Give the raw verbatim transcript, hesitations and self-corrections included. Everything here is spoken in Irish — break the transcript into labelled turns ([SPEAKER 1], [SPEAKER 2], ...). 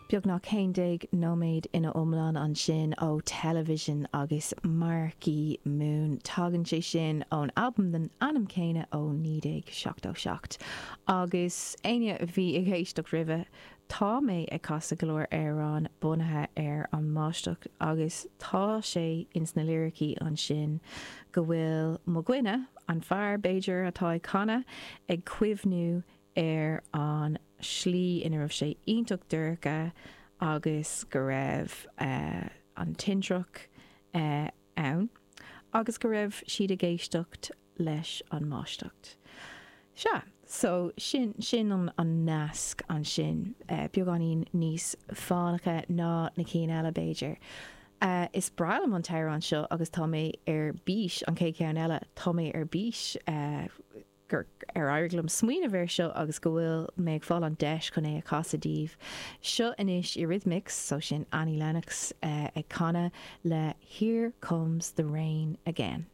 [SPEAKER 1] Beagnach haon déag nóiméad ina iomlán ansin ó Television agus Marquee Moon. Tagann sé sin ón albam den ainm céanna ó naoi déag seachtó seacht. Agus éinne a bhí ag éisteacht roimhe, tá mé ag casadh go leor amhrán bunaithe ar an mbáisteach agus tá sé ins na liricí ansin go bhfuil mo dhuine, an fear b'fhéidir atá ag canadh, ag cuimhniú ar an slí ina raibh sé iontach dorcha agus go raibh an tintreach ann agus go raibh siad ag éisteacht leis an mbáisteach. Sea, so sin, sin an, an nasc ansin, beagáinín níos fánacha ná na cinn eile b'fhéidir. Is breá liom an t-amhrán seo agus tá mé ar bís, an chéad cheann eile, tá mé ar bís gur ar éirigh liom smaoineamh air seo agus go bhfuil mé ag fáil an deis chun é a chasadh daoibh. Seo anois Eurythmics, so sin Annie Lennox ag canadh le Here Comes the Rain Again.